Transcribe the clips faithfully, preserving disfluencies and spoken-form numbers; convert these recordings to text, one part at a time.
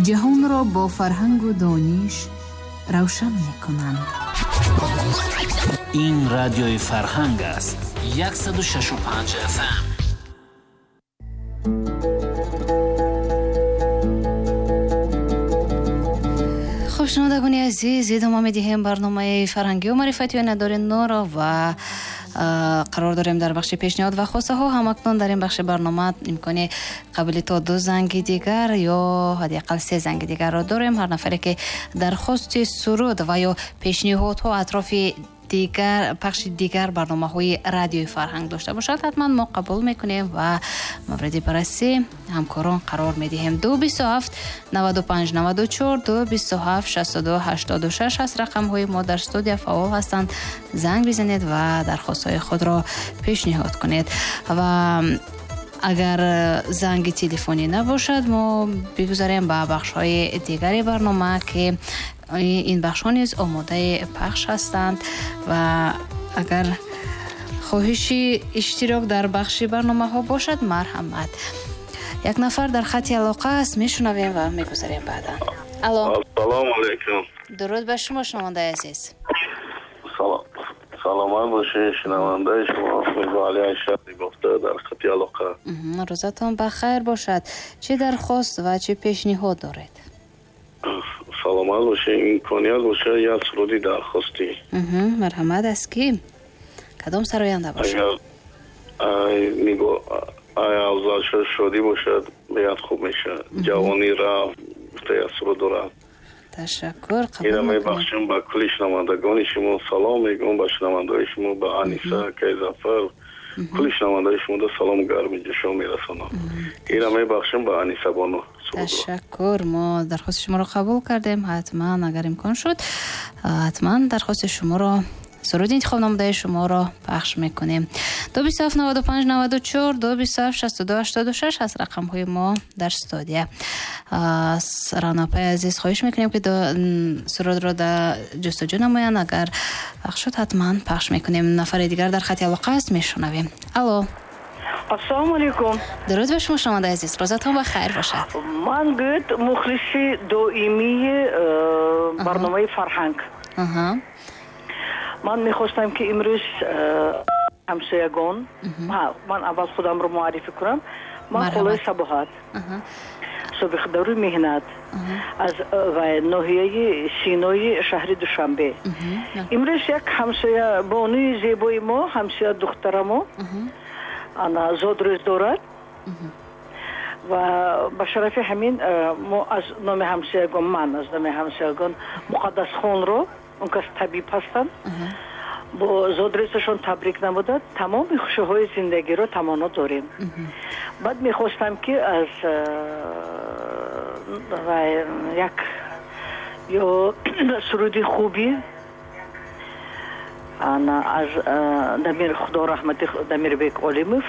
Ҷаҳонро бо фарҳангу дониш равшан мекунанд. Ин радиои Фарҳанг аст. Яксаду шашу панҷ эф эм. Хуб, шунавандагони азиз, идома медиҳем барномаи фарҳангию маърифатии Надори Норо ва қарор дорем дар бахши пешниҳод ва хостаҳо. Ҳамакнун дар ин бахши барнома имкони қабули то ду занги дигар ё ҳадди ақал се занги дигарро дорем. Ҳар нафаре ки дархости суруд ва ё пешниҳодҳо атрофи дигар пахши дигар барномаҳои радиои Фарҳанг дошта бошад, ҳатман мо қабул мекунем ва мавриди баррасӣ ҳамкорон қарор медиҳем. Ду бисту ҳафт наваду панҷ наваду чор, ду бисту ҳафт шасту ду ҳаштоду шаш ҳаст рақамҳои мо дар студия фаъол ҳастанд. Занг бизанед ва дархостҳои худро пешниҳод кунед. Ва агар занги телефонӣ набошад, мо бигузарем ба бахшҳои дигари барнома, ки ин бахшҳо низ омодаи пахш ҳастанд. Ва агар хоҳиши иштирок дар бахши барномаҳо бошад, марҳамат. Як нафар дар хати алоқа аст, мешунавем ва мегузарем баъдан. Алло. Ассалому алайкум. Дуруд ба шумо, шунавандаи азиз. Салом. Саломат бошед, шунавандаи шумо Мирзоалӣ Ашрафӣ гуфта дар хати алоқа. Рӯзатон ба хайр бошад. Чӣ дархост ва чӣ пешниҳод доред? Саломат бошед, имконият бошад як суруди дархостӣ. Марҳамат, аз кӣ? Кадом сароянда бошад? Агар нигоҳ ай Афзалшоҳ Шодӣ бошад, беҳад хуб мешавад. Ҷавонӣ рафт, гуфта як суруд дорад. Ташаккур, қабул Ира мекунем. Мебахшем ба кулли шунавандагони шумо, салом мегӯям ба шунавандаҳои шумо, ба Аниса, Кайзафар, кулли шунавандаҳои шумо да салом гарми ҷӯшон мерасонам. Ира мебахшем ба Аниса бону. Ташаккур, мо дархости шуморо қабул кардем. Ҳатман агар имкон шуд, ҳатман дархости шуморо, суруди интихоб намудаи шуморо пахш мекунем. Ду бисту ҳафт наваду панҷ наваду чор, ду бисту ҳафт шасту ду ҳаштоду шаш ҳаст рақамҳои мо дар студия. Ранопаи азиз, хоҳиш мекунем ки сурудро дар ҷустуҷӯ намоянд. Агар пахш шуд, ҳатман пахш мекунем. Нафари дигар дар хати алоқа аст, мешунавем. Алло. Ассалому алайкум. Дуруд ба шумо, шунавандаи азиз. Рӯзатон ба хайр бошад. Ман гӯд мухлиси доимии барномаи Фарҳанг. Ман мехостам ки имрӯз ҳамсоягон, ман аввал худамро муаррифӣ кунам. Ман Холаи Сабоҳат, собиқдари меҳнат аз ноҳияи Синои шаҳри Душанбе. Имрӯз як ҳамсоя бонуи зебои мо, ҳамсоя духтарамо ана зодрӯз дорад ва ба шарафи ҳамин мо аз номи ҳамсоягон, ман аз номи ҳамсоягон Муқаддасхонро, он кас табиб ҳастанд, бо зодрӯзашон табрик намуда тамоми хушиҳои зиндагиро таманно дорем. Баъд мехостам ки аз як ё суруди хуби аз Дамир, Худо раҳмати Дамирбек Олимов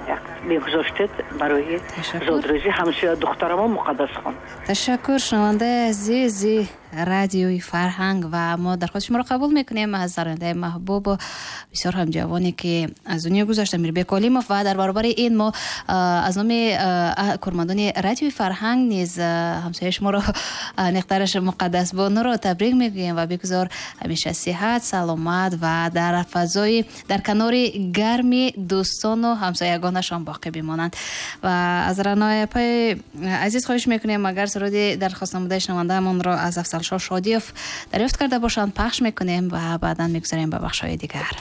як мегузоштед барои зодрӯзи ҳамсоя духтарамо Муқаддасхон. Ташаккур, шунавандаи азизи радиои Фарҳанг, ва мо дархости шуморо қабул мекунем аз сарояндаи маҳбубу бисёр ҳам ҷавоне ки аз дунё гузашт, Амирбек Олимов. Ва дар баробари ин мо аз номи кормандони радиои Фарҳанг низ ҳамсояи шуморо неқтараш Муқаддас бонуро табрик мегӯем ва бигузор ҳамеша сиҳат, саломат ва дар фазои дар канори гарми дӯстону ҳамсоягонашон боқӣ бимонанд. Ва аз Ранои апаи азиз хоҳиш мекунем, агар суруди дархост намудаи шунавандаамонро аз Афзалшоҳ Шодиев дарёфт карда бошанд, пахш мекунем ва баъдан мегузарем ба бахшҳои дигар.